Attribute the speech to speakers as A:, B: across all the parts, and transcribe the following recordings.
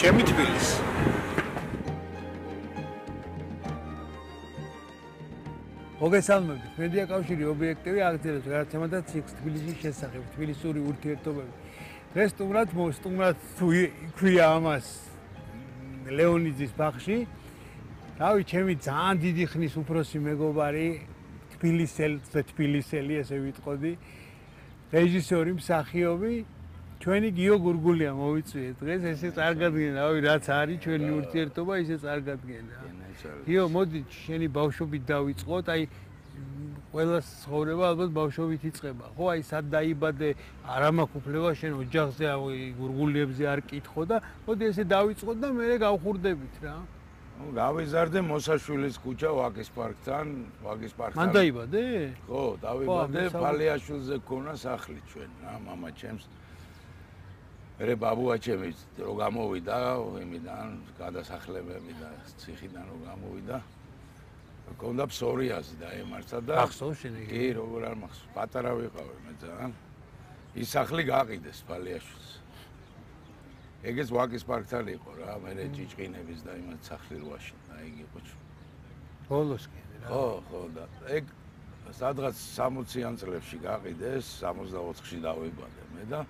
A: ჩემი თბილისი.
B: მოგესალმებით. მედია კავშირი ობიექტივი აღწერებს გადაცემას თბილისის შესახებ, თბილისური ურთიერთობები. დღეს სტუმრად თუ ქვია ამას ლეონიძის ბაღში. რავი, ჩემი ძალიან დიდი ხნის უფროსი მეგობარი, თბილისელი, ესე ვიტყოდი, რეჟისორი, მსახიობი, ჩვენი გიო გურგულია მოვიწვიეთ დღეს, ესე წარგადგენ, რავი, რაც არის ჩვენი ურთიერთობა, ისე წარგადგენ რა. გიო, მოდი, შენი ბავშვობით დავიწყოთ, აი ყველა ცხოვრება ალბათ ბავშვობით იწყება, ხო? აი სად დაიბადე, არ მაქვს უფლება შენ ოჯახზე, გურგულიებზე არ კითხო და მოდი ესე დავიწყოთ და მე გავხურდებით რა.
C: გავიზარდე მოსაშვილის ქუჩა ვაკის პარკთან.
B: მან დაიბადე?
C: ხო, დავიბადე, ფალიაშვილზე გქონა სახლი ჩვენ, რა, მამა ჩემს. მე ბაბუა ჩემი რო გამოვიდა იმიდან, გადასახლებები და ციხიდან რო გამოვიდა. გქონდა ფსორიაზი დაემართა და
B: ახსოვს შენ იგი?
C: კი, როგორ არ მახსოვს, პატარა ვიყავი მე ძალიან. ის სახლი გაყიდეს ფალიაშვილს. ეგეც ვაკის პარკთან იყო რა, მე ჭიჭყინების და იმათ სახლი რვაში და ეგ იყო.
B: ბოლოს კი რა.
C: ხო და ეგ სადღაც 60-იან წლებში გაყიდეს, 64-ში დავიბადე მე და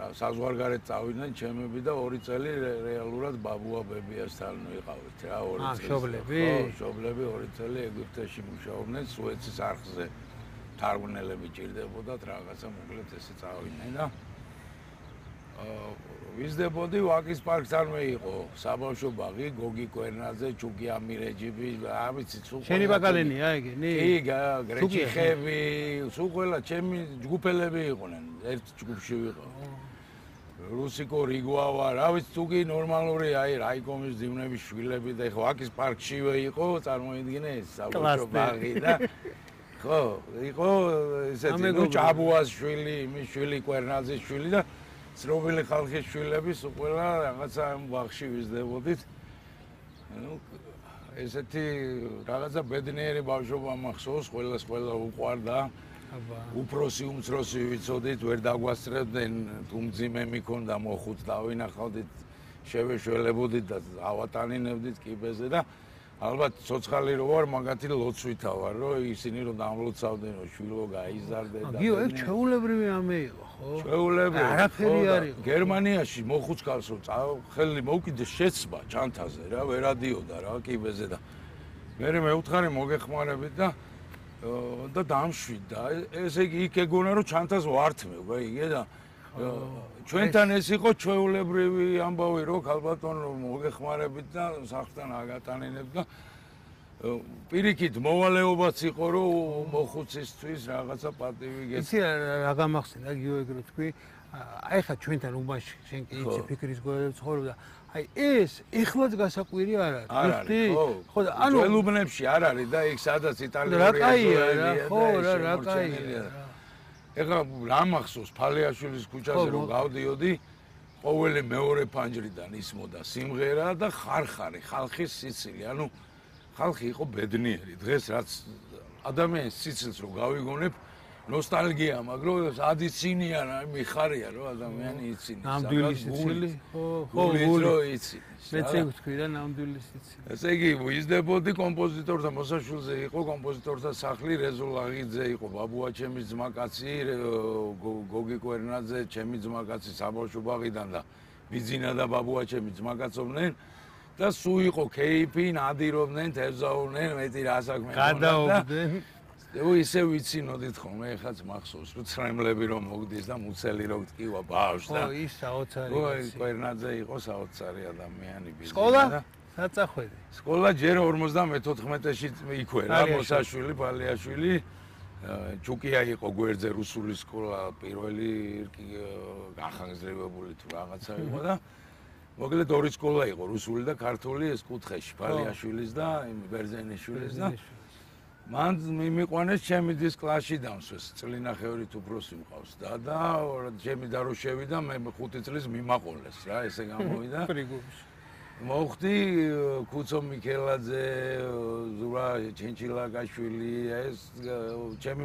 C: საზღვარგარეთ წავიდნენ ჩემები და 2 წელი რეალურად ბაბუა ბებიასთან ვიყავით რა, 2 წელი.
B: მშობლები?
C: ხო, მშობლები 2 წელი ეგვიპტეში მუშაობდნენ, სუეცის არხზე თარგმნელები ჭირდებოდათ, რაღაცა მოკლედ ესე წავიდნენ და ვიზდებოდი ვაკის პარკთანვე იყო საბავშვო ბაღი, გოგი კვერნაძე, ჩუკი ამირეჯიბი, არ ვიცი სულ.
B: შენი ბაკალენია ეგენი?
C: კი, გრეჩიხები, სულ ყველა ჩემი ჯგუფელები იყვნენ, ერთ ჯგუფში ვიყავ. რუსიკო რიგვავა, რა ვიცი, თუ კი ნორმალური, აი რაიკომის ძივნების შვილები და ეხლა ვაკის პარკშივე იყო, წარმოიდგინე ეს საბავშვო ბაღი და ხო, იყო ესეთი, ნუ ჭაბუას შვილი, იმის შვილი, კვერნაძის შვილი და ცნობილი ხალხის შვილები სულ ყველა რაღაცა ამ ბაღში ვიზდებოდით. ნუ ესეთი რაღაცა ბედნიერი ბავშვობა მახსოვს, ყველა უყვარდა. უფროსი უმცროსი ვიცოდით, ვერ დაგვასწრებდნენ, თუ მძიმე მიქონდა მოხუც დავინახავდით, შევეშველებოდით და ავატანინებდით კიბეზე და ალბათ ცოცხალი რო ვარ, მაგათი ლოცვითა ვარ, რომ ისინი რომ დამლოცავდნენ, რომ შვილო გაიზარდე და
B: გიო, ეგ ჩვეულებრივი ამე იყო, ხო?
C: ჩვეულებრივი.
B: არაფერი არ იყო.
C: გერმანიაში მოხუცქალს რომ ხელი მოვკიდეს შეცბა ჩანთაზე რა, ვერადიოდა რა კიბეზე და მე მეუთხარი მოგეხმარებით და დამშვიდა. ესე იგი იქ ეგონა რომ ჩანთას ვართმევ, გაიგე და ჩვენთან ეს იყო ჩვეულებრივი ამბავი რომ ქალბატონო მოგეხმარებით და სახლთან აგატანინებ და პირიქით მოვალეობაც იყო რომ მოხუცისთვის რაღაცა პატივი გეც.
B: იცი რა გამახსენდა გიო ეგ რო თქვი, აი ხა ჩვენთან უბანში შენ კი იცი ფიქრის გოლა ცხოვრობდა. აი ეს ეხლაც გასაკვირი არ არის.
C: ხო და ანუ ველუბნებში არ არის და იქ სადაც იტალიური
B: აზოებია. ხო რა კაია.
C: ეხლა რა მახსოვს ფალიაშვილის ქუჩაზე რომ გავდიოდი, ყოველი მეორე ფანჯრიდან ისმოდა სიმღერა და ხარხარი, ხალხის სიცილი. ანუ ხალხი იყო ბედნიერი. დღეს რაც ადამიანის სიცილს რო გავიგონებ, ნოსტალგია, მაგრამ ადიცინია რა, მიხარია რომ ადამიანი იცინი.
B: ნამდვილი სიცილი? ხო,
C: გულით იცინი.
B: მეც ვთქვი რა, ნამდვილი სიცილი.
C: ესე იგი, ვიზდებოდი კომპოზიტორთა მოსაშვილზე იყო კომპოზიტორთა სახლი, რეზო ლაღიძე იყო ბაბუა ჩემის ძმაკაცი, გოგი კვერნაძე, ჩემი ძმაკაცი საბავშვო ბაღიდან და ბიძინა და ბაბუა ჩემი ძმაკაცობდნენ და სულ იყო კეიფი, ნადირობდნენ, თევზაურდნენ, მეტი რა საქმე ჰქონდა.
B: გადაობდნენ.
C: ისე ვიცინოდით ხოლმე, ეხლაც მახსოვს, რომ ცრემლები რომ მოგდის და მუცელი რო გტკივა ბავშვს და
B: ხო, ის საოცარი.
C: ხო, კვერნაძე იყო საოცარი ადამიანი ბიზნესი.
B: სკოლა? საწახვედი.
C: სკოლა ჯერ 54-ში იქვე რა, მოსაშვილი, ფალიაშვილი. ჩუკია იყო გვერდზე რუსული სკოლა, პირველი განხანგრძლივებული თუ რაღაცა იყო და მოკლედ 2 სკოლა იყო, რუსული და ქართული, ეს კუთხეში, ფალიაშვილის და ბერძენიშვილის და მან მიმიყვანეს ჩემი დის კლასში დამსვეს, წლინახევრი უფროსი მყავს და ჩემი და რო შევიდა, მე 5 წლის მიმაყოლეს რა, ესე გამოვიდა.
B: პრიგუბში.
C: მოხდი კუცო მიქელაძე, ზურა ჩენჩილაკაშვილი, ეს ჩემი